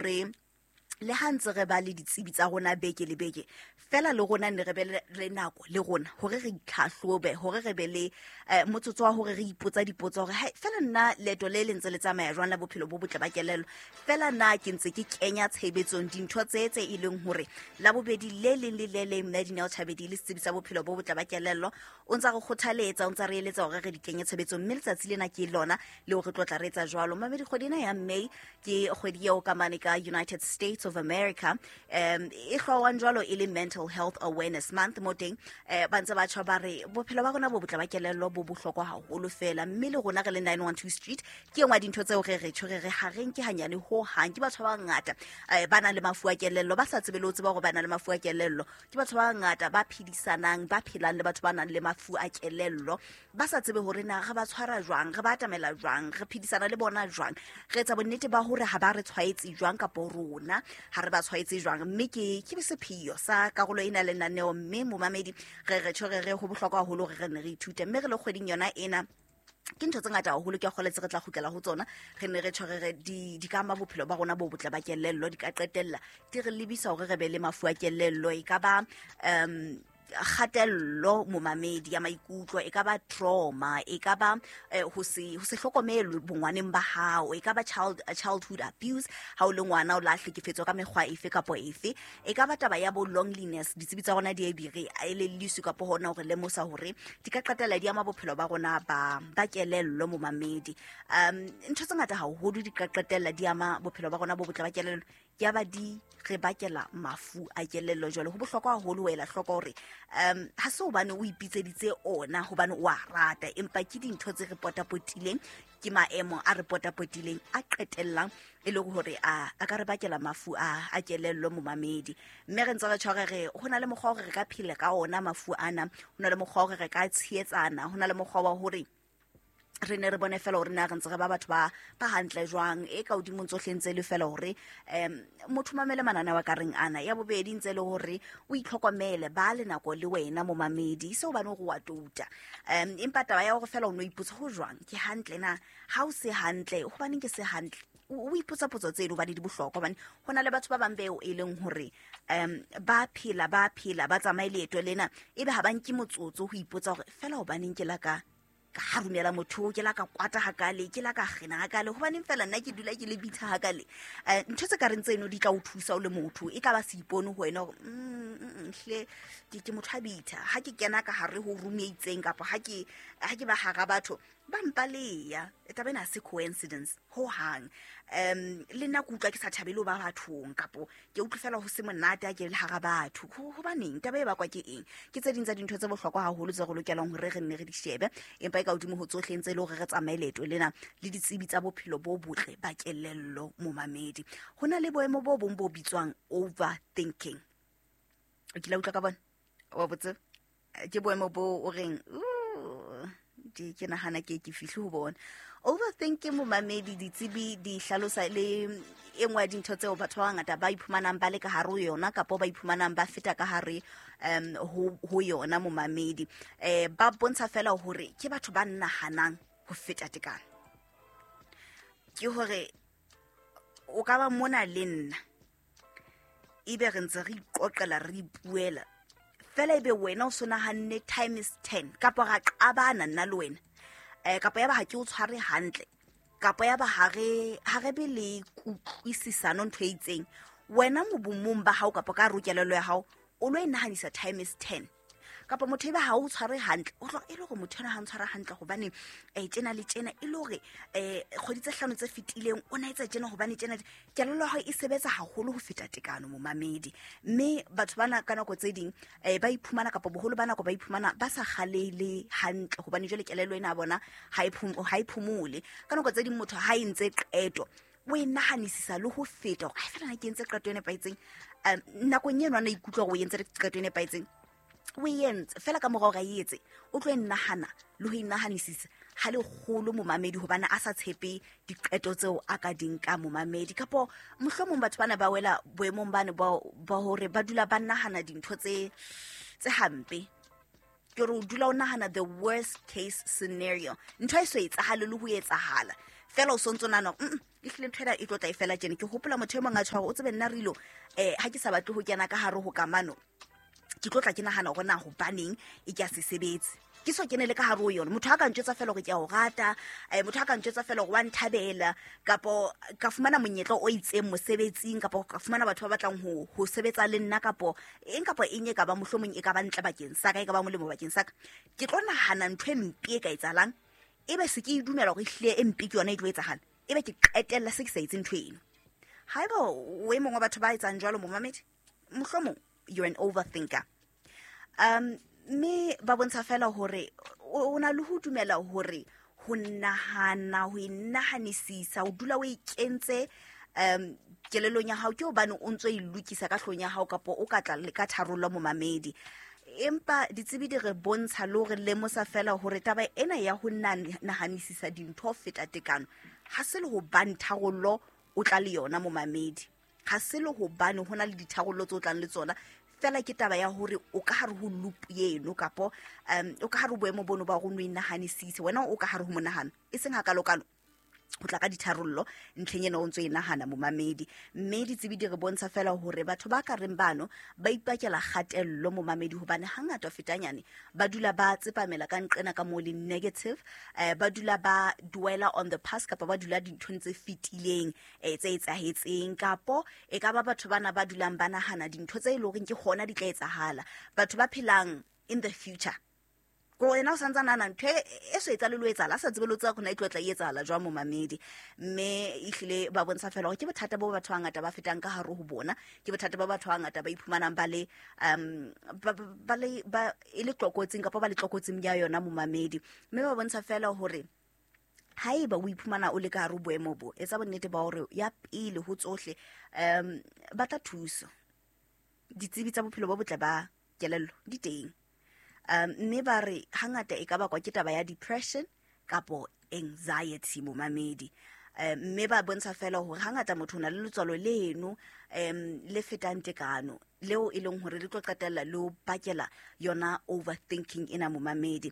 Hore le ha ntse re ba le ditsebi tsa rona beke le beke fela, le rona ne re be le nako le rona hore re itlhahlobe, hore re be le motsotso wa hore re ipotsa dipotso hore hai fela nna leeto le le ntse le tsamaya jwang la bophelo bo botle ba kelello, fela na ke ntse ke kenya tshebetsong dintho tse e leng hore la bobedi le leng le le leng mme Dineo Thabedi le setsebi sa bophelo bo botle ba kelello o ntsa re kgothaletsa, o ntsa re eletsa hore re di kenye tshebetsong. Mme letsatsi lena ke lona le hore tlo tla re etsa jwalo. Mamedi, kgwedi ena ya May ke kgwedi eo ka mane ka United States of America e hlwawang jwalo e le Mental Health Awareness Month. Mo teng ba ntse ba tjho ba re bophelo ba rona bo botle ba kelello bo bohlokwa haholo fela. Mme le rona re le 912 Street ke engwe ya dintho tseo re re tjho re re ha re nke hanyane ho hang. Ke batho ba bangata ba nang le mafu a kelello ba sa tsebe le ho tseba hore ba nang le mafu a kelello. Ke batho ba bangata ba phedisanang, ba phelang le batho ba nang le mafu a kelello, ba sa tsebe hore na re ba tshwara jwang, re ba atamela jwang, re phedisana le bona jwang, re etsa bonnete ba hore ha ba re tshwaetse jwang kapo rona ha re ba tshwaetse jwang. Mme ke sepheo sa karolo ena lenaneo. Mme momamedi, re re tjho re re ho bohlokwa haholo hore re ne re ithute, mme re le kgweding yona ena ke ntho tse ngata haholo ke a kgoletse re tla kgutlela ho tsona. Re ne re tjho re re di ka ama bophelo ba rona bo botle ba kelello, di ka qetella di re lebisa hore re be le mafu a kelello. E ka ba kgatello, momamedi, ya maikutlo, e ka ba trauma, e ka ba ho se hlokomelwe bongwaneng ba hao, e ka ba childhood abuse ha o le ngwana o la hlekefetswa ka mekgwa efe kapo efe, e ka ba taba ya bo loneliness. Ditsebi tsa rona di e di re elelliswe kapo hona hore lemosa hore di ka qetella di ama bophelo ba rona ba kelello. Momamedi, ntho tse ngata haholo di ka qetella di ama bophelo ba rona bo botle ba kelello, ya ba di re bakela mafu a kelello. Jwale ho bohlokwa haholo ho ela hloko hore ha se hobane o ipitseditse ona hobane o a rata, empa ke dintho tse re potapotileng, ke maemo a re potapotileng a qetellang e le hore a ka re bakela mafu a kelello. Momamedi, mme re ntse re tshware re ho na le mokgwa hore re ka phela ka ona mafu ana, ho na le mokgwa hore re ka tshehetsana, ho na le mokgwa wa hore re ne re bone fela hore na re ntse re ba batho ba hantle jwang. E ka hodimo tsohle ntse e le fela hore motho mamele mananeo a ka reng ana. Ya bobedi ntse e le hore o itlhokomele, ba le nako le wena momamedi, se hobane hore wa touta, empa taba ya hore fela o no ipotsa ho jwang, ke hantle na, ha o se hantle hobaneng ke se hantle, o ipotsa potso tseno hobane di bohlokwa, hobane ho na le batho ba bang beo e leng hore ba phela, ba phela, ba tsamaye leeto lena, ebe ha ba nke motsotso ho ipotsa hore fela hobaneng ke la ka harumela motho, ke la ka kwata hakale, ke la ka kgena hakale, hobaneng fela nna ke dula ke le bitha hakale. Ntho tse ka reng tseno di tla o thusa o le motho, e ka ba seipone ho wena hore hle ke motho a bitha ha ke kena ka hare ho room e itseng, kapa ha ke ba hara batho ba mpaleya. Taba ena ha se coincidence ho hang. Le nna ke utlwa ke sa thabele ho ba bathong, kapo ke utlwe fela ho se monate ha ke le hara batho. Hobaneng taba e bakwa ke eng? Ke tse ding tsa dintho tse bohlokwa haholo tse re lokelang hore re nne re di shebe. Empa e ka hodimo ho tsohle ntse e le hore re tsamaye leeto lena le ditsebi tsa bophelo bo botle ba kelello. Momamedi, ho na le boemo bo bong bo bitswang overthinking. O kile utlwa ka bona? Wa botse ke boemo bo o reng, "Ooh, ke nahana ke fihle ho bona." Overthinking, momamedi, ditsebi di hlalosa le e nngwe ya dintho tseo batho ba bangata ba iphumanang ba le ka hare ho yona, kapo ba iphumanang ba feta ka hare ho yona. Momamedi, ba bontsha fela hore ke batho ba nahanang ho feta tekano. Ke hore o ka ba mona le nna, ebe re ntse re iqoqela, re ipuela fela, ebe wena o so nahanne times 10, kapa ra qabana nna le wena, kapa ya ba ha ke o tshware hantle, kapa ya ba ha re be le kutlwisisano ntho e itseng. Wena mobomong ba hao kapa ka hare ho kelello ya hao o lo e nahanisa times 10, kapa motho ebe ha o tshware hantle, o tlo e le hore motho ena ha o ntshwara hantle hobane tjena le tjena, e le hore kgwedi tse 5 tse fetileng o na etsa tjena hobane tjena. Kelello ya hao e sebetsa haholo ho feta tekano, momamedi. Mme batho bana ka nako tse ding ba iphumana, kapa boholo ba nako ba iphumana ba sa kgalele hantle, hobane jwale kelello ena ya bona ha e phomole. Ka nako tse ding motho ha e ntse qeto o e nahanisisa le ho feta hore ai fela na ke entse qeto e nepahetseng. Nakong eno a na ikutlwa hore o entse qeto e nepahetseng, o e entse fela, ka mora hore a e etse o tlo e nahana le ho e nahanisisa ha lekgolo, momamedi, hobane a sa tshepe diqeto tseo a ka di nka. Momamedi, kapo mohlomong batho bana ba wela boemong bane ba hore ba dula ba nahana dintho tse hampe. Ke re o dula o nahana the worst case scenario, ntho e so etsahale le ho etsahala. Fela o sontso nahana hore e hlile ntho ena e tlo tla e fela tjena. Ke hopola motho e mong a tjho hore o tsebe nna Rilo, ha ke sa batle ho kena ka hare ho kamano, ke tlo tla ke nahana hore na hobaneng e ke a se sebetse. Ke so kene le ka hare ho yona. Motho a ka ntjwetsa fela hore ke a o rata, motho a ka ntjwetsa fela hore wa nthabela, kapo ka fumana monyetla o itseng mosebetsing, kapo ka fumana batho ba batlang ho sebetsa le nna, kapo eng kapo eng e ka ba mohlomong e ka ba ntle bakeng sa ka, e ka ba molemo bakeng sa ka. Ke tlo nahana ntho e mpe e ka etsahalang, ebe se ke e dumela hore ehlile e mpe ke yona e tlo etsahala, ebe ke qetella se ke sa etse ntho eno. Haeba o e mong wa batho ba etsang jwalo, momamedi, mohlomong you're an overthinker. Mme ba bontsha fela hore o na le ho dumela hore ho nahana, ho inahanisisa, o dula o ikentse kelellong ya hao ke hobane o ntso e lokisa ka hloohong ya hao, kapo o ka tla le ka tharollo momamedi. Empa ditsebi di re bontsha le hore lemosa fela hore taba ena ya ho nahanisisa dintho ho feta tekano ha se le hobane tharollo o tla le yona momamedi, ha se le hobane ho na le ditharollo tse o tlang le tsona, fela ke taba ya hore o ka hare ho loop eno, kapo o ka hare ho boemo bono ba hore o no inahanisise, wena o ka hare ho monahano, e seng hakalokalo ho tla ka ditharollo ntlheng ena o ntso e nahana momamedi. Mme ditsebi di re bontsha fela hore batho ba ka reng bano ba ipakela kgatello momamedi, hobane hangata ho fetanyane ba dula ba tsepamela ka nqena ka moo le negative, ba dula ba dwella on the past, kapa ba dula dinthong tse fetileng, tse etsahetseng, kapo e ka ba batho bana ba dulang ba nahana dintho tse e leng hore ke hona di tla etsahala, batho ba phelang in the future. Ko wena o santsa nahana ntho e so etsahale le ho etsahala, a sa tsebe le ho tseba hore na e tlo tla e etsahala jwang momamedi. Mme ehlile ba bontsha fela hore ke bothata bo batho ba bangata ba fetang ka hare ho bona, ke bothata ba batho ba bangata ba iphumanang ba le, ba, ba, ba le, ba, e le tlokotsing kapa ba le tlokotsing ya yona momamedi. Mme ba bontsha fela hore haeba o iphumana o le ka hare ho boemo bo, etsa bonnete ba hore ya pele ho tsohle, batla thuso. Ditsebi tsa bophelo bo botle ba kelello di teng. Mme ba re hangata e ka bakwa ke taba ya depression kapo anxiety momamedi. Mme ba bontsha fela hore hangata motho o na le letswalo leno, le fetang tekano, leo e leng hore le tlo qetella le o bakela yona overthinking ena momamedi.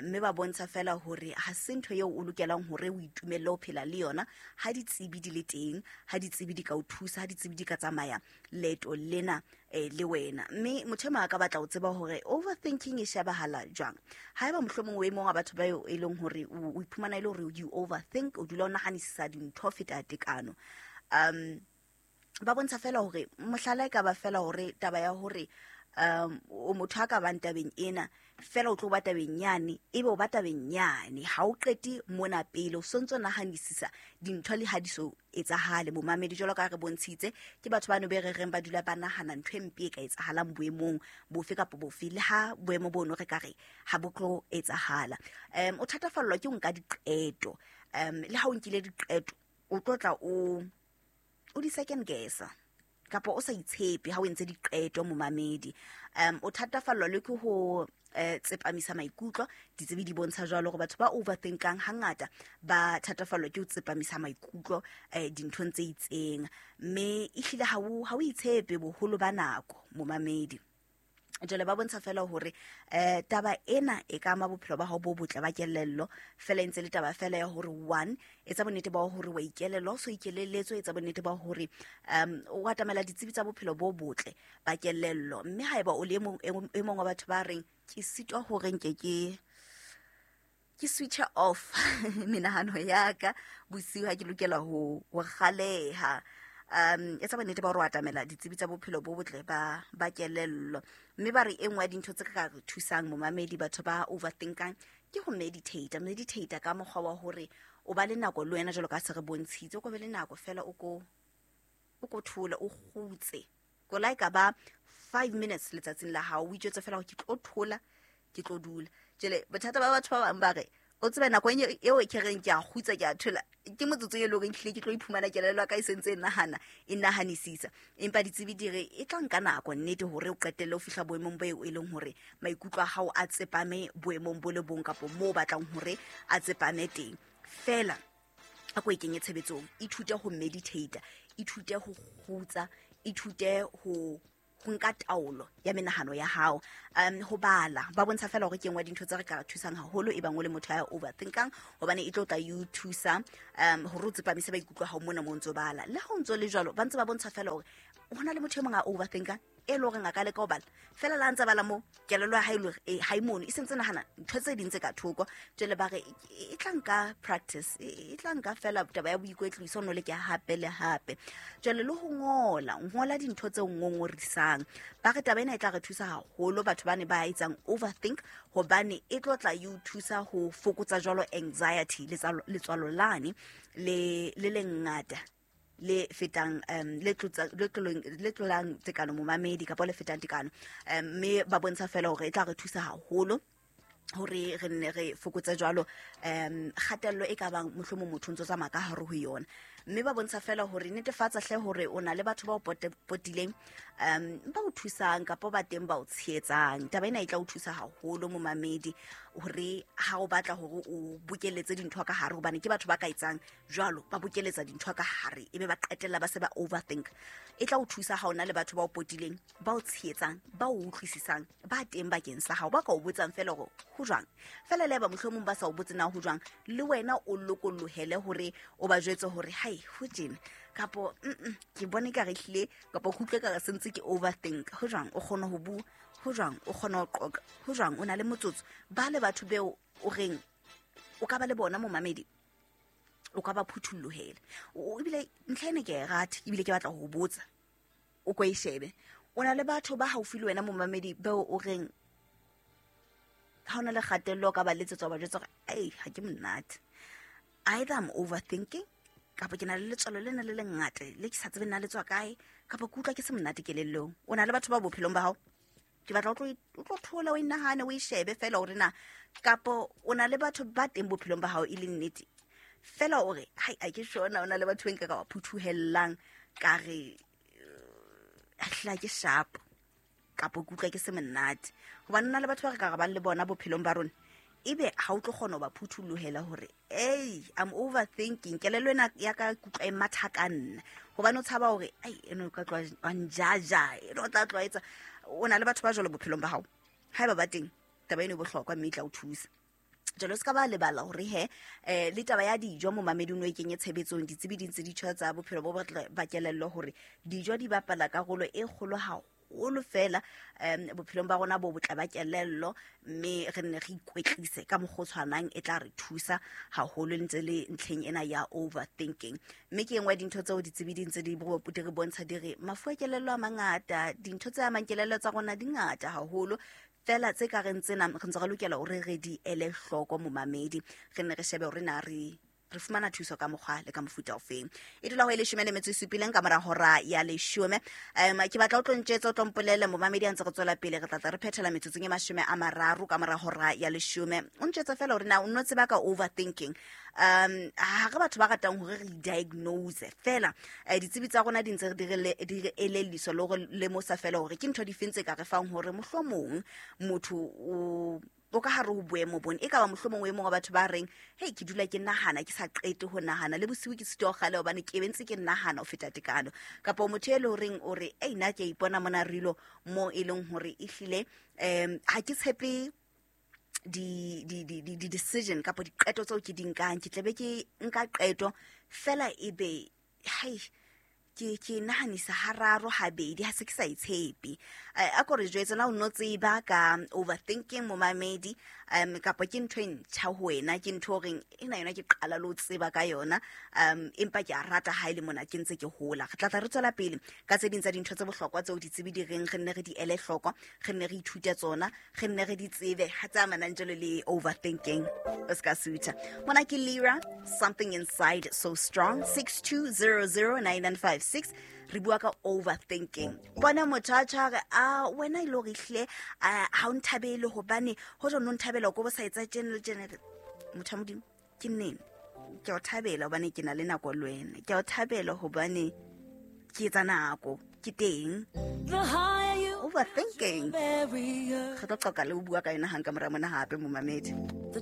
Mme ba bontsha fela hore ha se ntho eo o lokelang hore o itumelle ho phela le yona, ha ditsebi di le teng, ha ditsebi di ka o thusa, ha ditsebi di ka tsamaya leeto lena, le wena. Mme motho e mong a ka batla ho tseba hore overthinking e shebahala jwang. Haeba mohlomong o e mong wa batho ba eo e leng hore o iphumana e le hore you overthink, o dula o nahanisisa dintho ho feta tekano. Ba bontsha fela hore mohlala e ka ba fela hore taba ya hore, o motho a ka bang tabeng ena, fela o tlo ba tabeng yane, ebe o ba tabeng yane, ha o qete mona pele, o sontso nahanisisa dintho le ha di so etsahale momamedi. Jwalo ka re bontshitse, ke batho ba no be re reng ba dula ba nahana ntho e mpe e ka etsahalang boemong bofe kapa bofe, le ha boemo bono re ka re ha bo tlo etsahala. O thatafallwa ke ho nka diqeto, le ha o nkile diqeto, o tlo tla o di second guessa, kapa o sa itshepe ha o entse diqeto momamedi. O thatafallwa le ke ho, tsepamisa maikutlo. Ditsebi di bontsha jwalo hore batho ba overthinkang hangata ba thatafallwa ke ho tsepamisa maikutlo, dinthong tse itseng, mme ehlile ha o itshepe boholo ba nako momamedi. Jwale ba bontsha fela hore, taba ena e ka ama bophelo ba hao bo botle ba kelello, fela e ntse le taba fela ya hore one, etsa bonnete ba hore wa ikelellwa, o so ikelelletswe, etsa bonnete ba hore, o atamela ditsebi tsa bophelo bo botle ba kelello. Mme haeba o le e mong wa batho ba reng ke sitwa hore nke ke switch off menahano ya ka bosiu ha ke lokela ho kgaleha, etsa bonnete ba hore o atamela ditsebi tsa bophelo bo botle ba kelello. Mme ba re e nngwe ya dintho tse ka re thusang momamedi batho ba overthinkang ke ho meditate. Meditate ka mokgwa wa hore o ba le nako le wena jwalo ka se re bontshitse, o ko be le nako fela o ko thole, o kgutse. Ko la e ka ba 5 minutes letsatsing la hao, o itjwetse fela hore ke tlo thola, ke tlo dula. Jwale bothata ba batho ba bang ba re, o tsebe nako eo ke reng ke a kgutsa, ke a thola, ke motsotso e leng hore ehlile ke tlo iphumana kelello ya ka e sentse e nahana, e nahanisisa. Empa ditsebi di re e tla nka nako nnete hore o qetelle ho fihla boemong bo e leng hore maikutlo a hao a tsepame boemong bo le bong kapo moo o batlang hore a tsepame teng. Fela a ko e kenye tshebetsong, ithute ho meditate, ithute ho kgutsa, ithute Ho nka taolo ya menahano ya hao. Ho bala, ba bontsha fela hore ke nngwe ya dintho tse re ka thusang haholo e bang o le motho ya overthinkang, hobane e tlo tla e o thusa hore o tsepamise maikutlo a hao mona mo o ntso bala. Le ha o ntso le jwalo, ba ntse ba bontsha fela hore ho na le motho e mong a overthinkang e le horeng a ka leka ho bala fela la ntse bala mo kelello ya hae le hore ha e mono, e sentse nahana ntho tse ding tse ka thoko. Jwale ba re e tla nka practice, e tla nka fela taba ya boikwetliso, o no leke hape le hape. Jwale le ho ngola, ngola dintho tse ngongorisang. Ba re taba ena e tla re thusa haholo batho ba ne ba etsang overthink, hobane e tlo tla e o thusa ho fokotsa jwalo anxiety, letswalo lane le le lengata le fetang, le tlotsa, le tlolong, le tlolang tekano momamedi, kapa le fetang tekano. Mme ba bontsha fela hore e tla re thusa haholo hore re nne re fokotse jwalo kgatello e ka bang mohlomong motho o ntso tsamaya ka hare ho yona. Mme ba bontsha fela hore netefatsa hle hore o na le batho ba o potileng, ba o thusang kapa ba teng ba o tshehetsang. Taba ena e tla o thusa haholo momamedi hore ha o batla hore o bokeletse dintho ka hare, hobane ke batho ba ka etsang jwalo, ba bokeletsa dintho ka hare ebe ba qetella ba se ba overthink. E tla o thusa ha o na le batho ba o potileng, ba o tshehetsang, ba o utlwisisang, ba teng bakeng sa hao, ba ka o botsang fela hore ho jwang. Fela le ba mohlomong ba sa o botse na ho jwang, le wena o lokollohele hore o ba jwetse hore hai ho tjena, kapo ke bone ka re hlile, kapo ke utlwe ka re sentse ke overthink. Ho jwang o kgona ho bua, ho jwang o kgona ho qoqa, ho jwang o na le motsotso. Ba le batho beo o reng o ka ba le bona momamedi, o ka ba phuthollohela. O ebile ntlha ena ke a e rata, ebile ke batla ho botsa, o ko e shebe. O na le batho ba haufi le wena momamedi beo o reng ha o na le kgatello o ka ba letsetsa wa ba jwetsa hore ei ha ke monate, either I'm overthinking, kapa ke na le letswalo lena le lengata le ke sa tsebe na le tswa kae, kapa ke utlwa ke se monate kelellong. O na le batho ba bophelong ba hao, ke batla o tlo thola, o inahane, o e shebe fela hore na kapa o na le batho ba teng bophelong ba hao e le nnete fela o re hai a ke sure na o na le batho ba nka ka ba phuthuhellang ka re hla ke sharp, kapa ke utlwa ke se monate. Hobane ho na le batho ba re ka re bang le bona bophelong ba rona, ebe ha o tlo kgona ho ba phuthulohela hore ei I'm overthinking, kelello ena ya ka ke utlwa e matha ka nna, hobane o tshaba hore ai eno o ka tloha wa njaja, eno o tla tloha etsa. O na le batho ba jwalo bophelong ba hao, haeba ba teng taba eno e bohlokwa mme e tla o thusa. Jwale o se ka ba lebala hore he, le taba ya dijo momamedi o no e kenye tshebetsong. Ditsebi di ntse di tjho tsa bophelo bo botle ba kelello hore dijo di bapala karolo e kgolo haholo fela, bophelong ba rona bo botle ba kelello, mme re nne re ikwetlise ka mokgwa o tshwanang, e tla re thusa haholo ntse le ntlheng ena ya overthinking. Mme ke e nngwe ya dintho tseo ditsebi di ntse di re bontsha di re mafu a kelello a mangata, dintho tse amang kelello tsa rona di ngata haholo fela tse ka reng tsena re ntse re lokela hore re di ele hloko momamedi, re nne re shebe hore na re fumana thuso ka mokgwa le ka mofuta ofeng. E dula ho e leshome le metso e supileng ka mora hora ya leshome. Ke batla o tlo ntjwetsa, o tlo mpolelle momamedi a ntse re tswela pele, re tla tla re phethela metsotsong e 30 ka mora hora ya leshome. O ntjwetse fela hore na o nno tseba ka overthinking. Ha re batho ba ratang hore re diagnose fela, ditsebi tsa rona di ntse di re le, di re elelliswa le hore lemosa fela hore ke ntho dife tse ka re fang hore mohlomong motho o ka hare ho boemo bona. E ka ba mohlomong o e mong wa batho ba reng hei ke dula ke nahana, ke sa qete ho nahana, le bosiu ke sitwa ho kgale hobane ke be ntse ke nahana ho feta tekano. Kapa motho e le horeng o re ei nna ke a ipona mona rilo mo e leng hore ehlile, ha ke tshepe di decision kapa diqeto tseo ke di nkang, ke tlabe ke nka qeto fela ebe hai ke nahanisa hararo habedi, ha se ke sa e tshepe. A ko re jwetse na o no tseba ka overthinking momamedi, kapa ke ntho e ntjha ho wena, ke ntho o reng ena yona ke qala le ho tseba ka yona, empa ke a rata ha e le mona ke ntse ke hola. Re tla tla re tswela pele ka tse ding tsa dintho tse bohlokwa tseo ditsebi di reng re nne re di ele hloko, re nne re ithute tsona, re nne re di tsebe ha tse amanang jwalo le overthinking. O ska sutha. Mona ke Lira, Something Inside So Strong, 62009956. Re bua ka overthinking. Bona motho a tjho a re, a wena e le hore ehlile, a, ha o nthabele hobane ho jwang o nthabela o ko bo sa etsa tjena le tjena. Motho wa Modimo, ke nnene. Ke a o thabela hobane ke na le nako le wena. Ke a o thabela hobane ke etsa nako, ke teng. The higher you Overthinking. barrier. Re tlo qoqa le ho bua ka yona hang ka mora mona hape, momamedi. The